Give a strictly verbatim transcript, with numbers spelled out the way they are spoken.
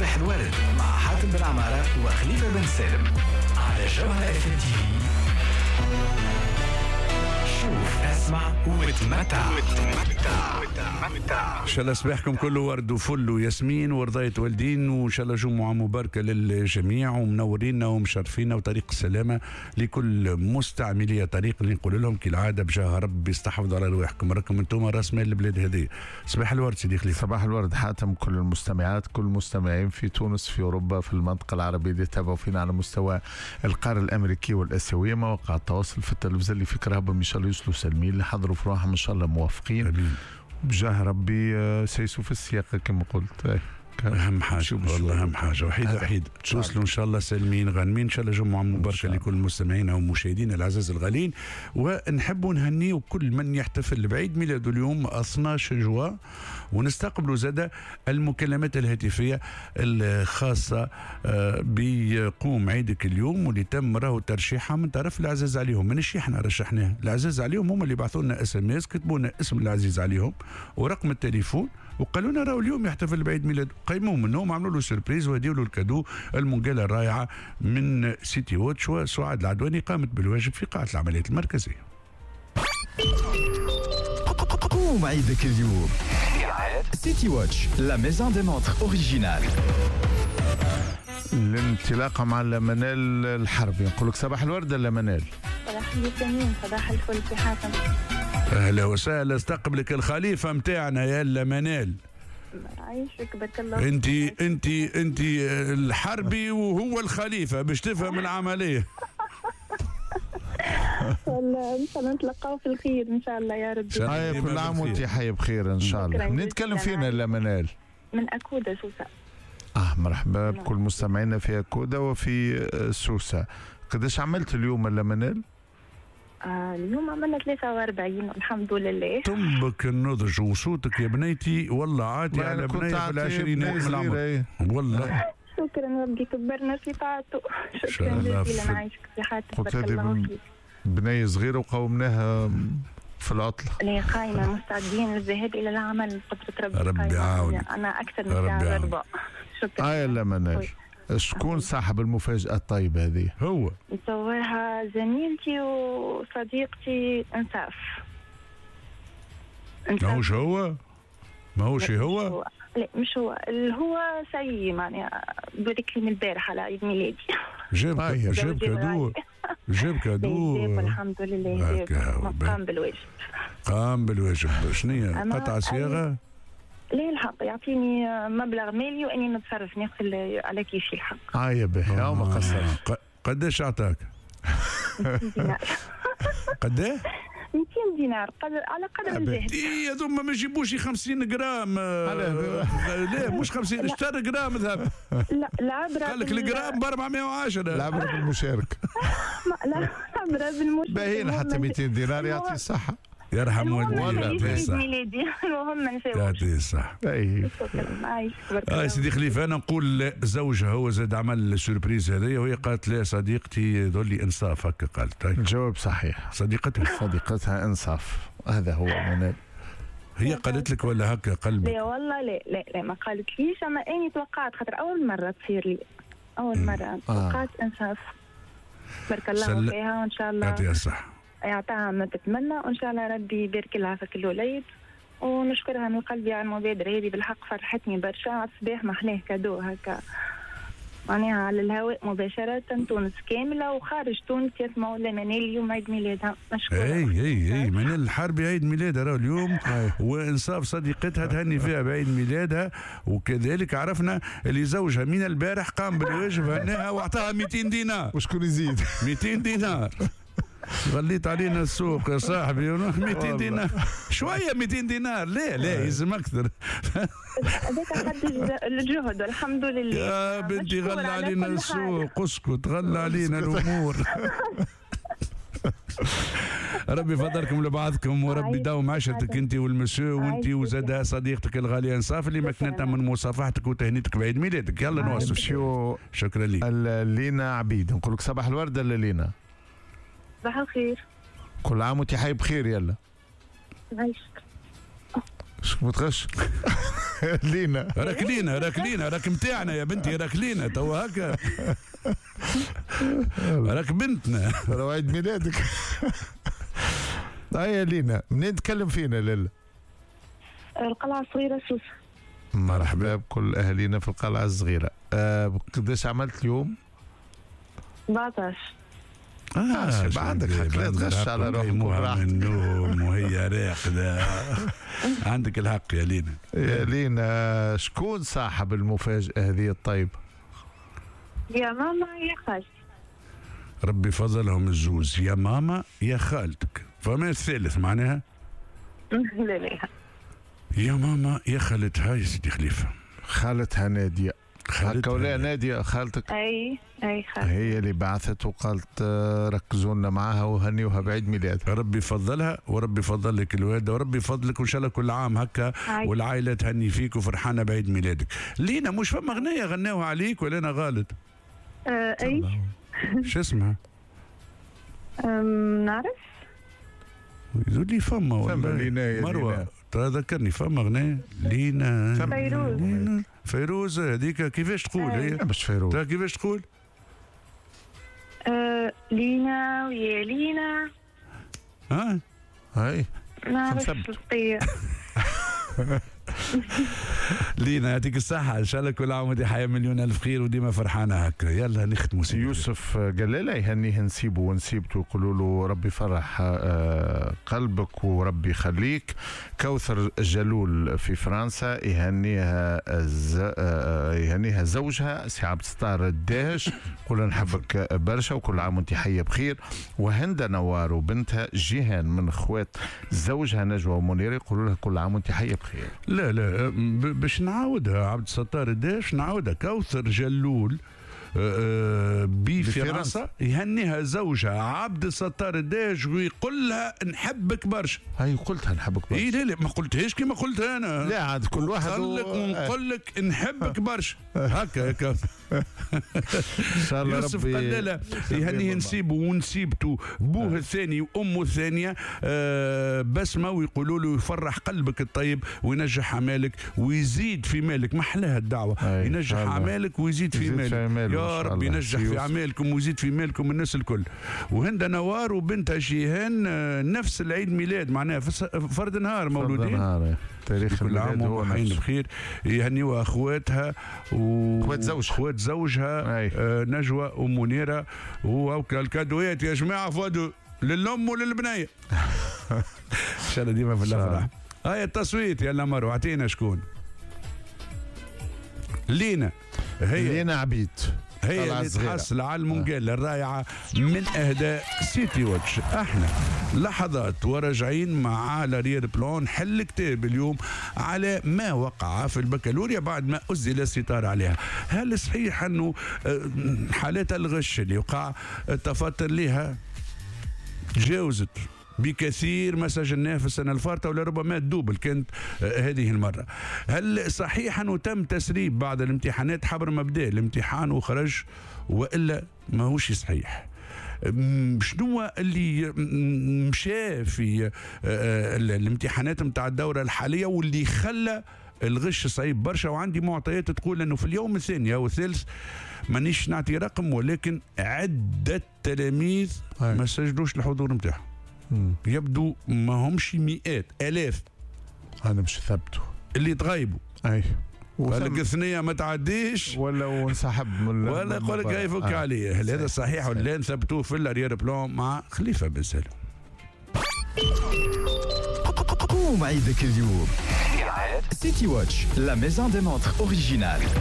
صباح الورد مع حاتم بن عمارة وخليفة بن سالم على جوهرة اف ام تي في. شوف، اسمع وتمتع. ان شاء الله صباحكم كله ورد وفل وياسمين ورضاية والدين، وان شاء الله جمعة مباركة للجميع، ومنورينا ومشرفينا، وطريق السلامة لكل مستعملي طريق اللي نقول لهم كالعادة بجاه ربي استحفظوا على رواحكم، راكم انتم راس مال البلاد هذه. صباح الورد سيدي خليفة. صباح الورد حاتم، كل المستمعات كل المستمعين في تونس، في أوروبا، في المنطقة العربية اللي تابعوا فينا على مستوى القارة الأمريكية والآسيوية، مواقع التواصل، في التلفزة اللي في كرهبهم إن شاء الله يوصلوا سالمين، اللي حضروا في روحهم إن شاء الله موافقين. أمين. بجاه ربي سيسوا في السياقة كما قلت. أهم حاجة والله، أهم حاجة وحيد وحيد توصلوا إن شاء الله سالمين غانمين. إن شاء الله جمعة مباركة لكل مستمعينا ومشاهدينا العزاز الغالين، ونحبوا نهنيو كل من يحتفل بعيد ميلاده اليوم اثناش جوان، ونستقبلوا زادة المكالمات الهاتفية الخاصة بقوم عيدك اليوم واللي تم راهو ترشيحها من طرف العزاز عليهم. ماناش احنا رشحناها، العزاز عليهم هم اللي بعثوا لنا SMS، كتبوا لنا اسم العزيز عليهم ورقم التليفون وقالوا لنا راهو اليوم يحتفل بعيد ميلاده. قيموه منهم، عملوا له surprise وهديوا له ال cadeau المنقالة الرائعة من سيتي واتش. وسعاد العدواني قامت بالواجب في قاعة العمليات المركزية. قوم عيدك اليوم سيتي واتش، la maison des montres originales. الانطلاقة مع منال الحربي، نقول لك صباح الورد منال. صباح الياسمين، صباح الفل في حاتم. اهلا وسهلا، استقبلك الخليفة متاعنا يا منال. عايشك بارك الله. انت انت انت الحربي وهو الخليفة باش تفهم العملية. والله ان شاء الله نتلقاو في الخير ان شاء الله يا ربي. هاي كل عام وانت حي بخير ان شاء الله. منين تكلم فينا لا منال؟ من اكودا سوسة. اه مرحبا بكل مستمعينا في اكودا وفي سوسة. قداش عملت اليوم لا منال؟ آه اليوم عملنا ثلاثة وأربعين الحمد لله. طنبك النضج وصوتك يا بنيتي والله عادي على بنية في العشرينات من العمر والله. شكرا ربي كبرنا في طاعته. شكرا جزيلا، عايشك في حياتك بارك الله فيك. بنية صغيرة وقومناها في العطلة. لا قايمة مستعدين للذهاب إلى العمل بقدرة ربي. ربي يعاونك. أنا أكثر من ساعة وربع. شكرا. آه لا منال، شكون صاحب المفاجأة الطيبة هذه؟ هو نصورها زميلتي وصديقتي انصاف. ماهوش هو؟ ماهوش هو؟ لا مش هو، اللي هو سي معناها بارك لي من البارح على عيد ميلادي. جاب جاب cadeau، جاب cadeau الحمد لله، جاب قام بالواجب. قام بالواجب. شنو قطع صياغة؟ لا الحق يعطيني مبلغ مالي واني نتصرف ناخذ على كيفي الحق. اه يا باهي، آه ما قصرش. قداش اعطاك؟ مئتين دينار. قداه؟ مئتين دينار قدر على قدر الجهد. اي هذوما ما يجيبوش خمسين غرام. لا مش خمسين، اشترى غرام ذهب. لا العبرة قال لك الغرام ب أربعمية وعشرة. العبرة بالمشاركة. لا العبرة بالمشاركة. باهيين حتى مئتين دينار يعطي الصحة. يرحم والديك. عيد ميلادي المهم ما نساوش. يعطيه الصحة. اي اه سيدي خليفة، انا نقول زوجها هو زاد عمل ال surprise هذايا وهي قالت لا صديقتي ذولي انصاف هكا قالت. الجواب صحيح. صديقتها صديقتها انصاف، هذا هو منال. هي قالت لك ولا هكا قلبك؟ لا والله لا لا لا ما قالتليش، اما اني توقعت خاطر اول مرة تصير لي، اول مرة توقعت انصاف. بارك الله سل... فيها وان شاء الله يعطيها الصحة، يعطيها ما تتمنى وان شاء الله ربي يبارك لها في كل وليد، ونشكرها من قلبي على المبادرة هذه بالحق فرحتني برشا. على الصباح محلاه cadeau هكا معناها على الهواء مباشرة، تونس كاملة وخارج تونس يسمعوا لمنال اليوم عيد ميلادها. مشكورة. اي اي اي منال الحربي عيد ميلادها راهو اليوم، وانصاف صديقتها تهني فيها بعيد ميلادها، وكذلك عرفنا اللي زوجها من البارح قام بالواجب هناها واعطاها مئتين دينار. وشكون يزيد؟ مئتين دينار. غليت علينا السوق يا صاحبي، مئتين دينار شوية، مئتين دينار لا لا يلزم اكثر. هذاك حد الجهد والحمد لله. يا بنتي غلى علينا السوق، اسكت غلى علينا الامور. ربي يفضلكم لبعضكم وربي يداوم عشرتك انت والمسيو وانت وزادها صديقتك الغالية انصاف اللي مكنتها من مصافحتك وتهنيتك بعيد ميلادك. يلا نواصل. شكرا لك. لينا عبيد، نقول لك صباح الورد لينا. صباح الخير. كل عام وانت حي بخير. يلا عايشك. شكون متغش؟ لينا راك لينا، راك لينا، راك متاعنا يا بنتي، راك لينا توا هكا، راك بنتنا. راه عيد ميلادك. هيا لينا، منين تكلم فينا لالا؟ القلعة الصغيرة سوسة. مرحبا بكل اهالينا في القلعة الصغيرة. أه قداش عملت اليوم؟ سبعطاش. اه عندك حق، لا تغش على روحك وبراحتك. النوم وهي راقده. عندك الحق يا لينا. يا لينا، شكون صاحب المفاجاة هذه الطيبة؟ يا ماما يا خالتي. ربي فضلهم الزوز، يا ماما يا خالتك، فما الثالث معناها؟ لا لا، يا ماما يا خالتها يا سيدي خليفة. خالتها ناديه. هكا ولا ناديه خالتك؟ اي اي خالتي هي اللي بعثت وقالت ركزوا لنا معاها وهنيوها بعيد ميلادها. ربي يفضلها وربي يفضل لك الوالدة وربي يفضلك وان شاء الله كل عام هكا والعائلة تهني فيك وفرحانه بعيد ميلادك. لينا مش فما غنية غناوها عليك ولا انا غلط؟ أه اي. شو اسمها؟ نعرف. يقول لي فما ولا مروه تذكرني فما غنية لينا فيروز. لينا فيروز هذيك كيفاش تقول هي؟ مش فيروز. كيفاش تقول؟ أه لينا ويا لينا. ها؟ هاي نعرف. لينا يعطيك الصحة، إن شاء الله كل عام وأنت حياة مليون ألف خير وديما فرحانة هكا. يلا نختموا. يوسف جلالة يهنيه نسيبه ونسيبته، يقولوا له ربي فرح قلبك وربي يخليك. كوثر جلول في فرنسا يهنيها يهنيها زوجها سي عبد الستار الداهش، يقول نحبك برشا وكل عام وأنت حية بخير. وهند نوار وبنتها جيهان من اخوات زوجها نجوى ومنيرة يقولوا لها كل عام وأنت حية بخير. لا لا باش نعاودها عبد الستار الداش، نعاودها. كوثر جلول بفرنسا يهنيها زوجها عبد الستار الداش ويقول لها نحبك برشا. هاي قلتها نحبك برشا. اي لا لا ما قلتهاش كيما قلتها انا. لا عاد كل واحد نقول لك ونقول لك نحبك برشا هكا يا كوثر. ان شاء الله يوسف قلالة يهنيه نسيبه ونسيبته بوه الثاني وامه الثانية آه بسمه، ويقولوا له يفرح قلبك الطيب وينجح اعمالك ويزيد في مالك. ما احلاها الدعوة، ينجح اعمالك ويزيد في مالك. في مالك. يا رب ينجح في اعمالكم ويزيد في مالكم الناس الكل. وهند نوار وبنتها جيهان نفس العيد ميلاد معناها فرد نهار مولودين. نهار. تاريخ كل عام وهم بخير. يهنيوا اخواتها و اخوات زوجها اخوات زوجها آه نجوى ومنيره. والكادوات يا جماعة فادو للام وللبنيه. ان شاء الله ديما في الافراح. هاي التصويت يلا مروه اعطينا شكون. لينا هي لينا عبيد هي اللي تحصل على المونجيلا الرائعة من أهداء سيتي واتش. احنا لحظات وراجعين مع l'arrière-plan حل كتاب اليوم على ما وقع في البكالوريا بعد ما أزل الستار عليها. هل صحيح أنه حالات الغش اللي وقع التفطر لها تجاوزت بكثير ما سجلناه في السنة الفارطة ولربما ال double كانت هذه المرة؟ هل صحيح أنه تم تسريب بعض الامتحانات حبر ما بدا الامتحان وخرج وإلا ما هوش صحيح؟ شنو اللي مشى في الامتحانات متاع الدورة الحالية واللي خلى الغش صعيب برشا؟ وعندي معطيات تقول أنه في اليوم الثاني أو الثالث، مانيش نعطي رقم، ولكن عدة تلاميذ ما سجلوش الحضور نتاعهم. يبدو ما همش مئات، آلاف. أنا مش ثبته اللي تغيبوا. أي قال لك الثنية ما تعديش ولا وانسحب من ولا يقول لك هاي فك عليه. هل هذا صحيح ولا لا؟ نثبتوه في l'arrière-plan مع خليفة بن سالم. قوم عيدك اليوم. سيتي واتش، la maison des montres originales.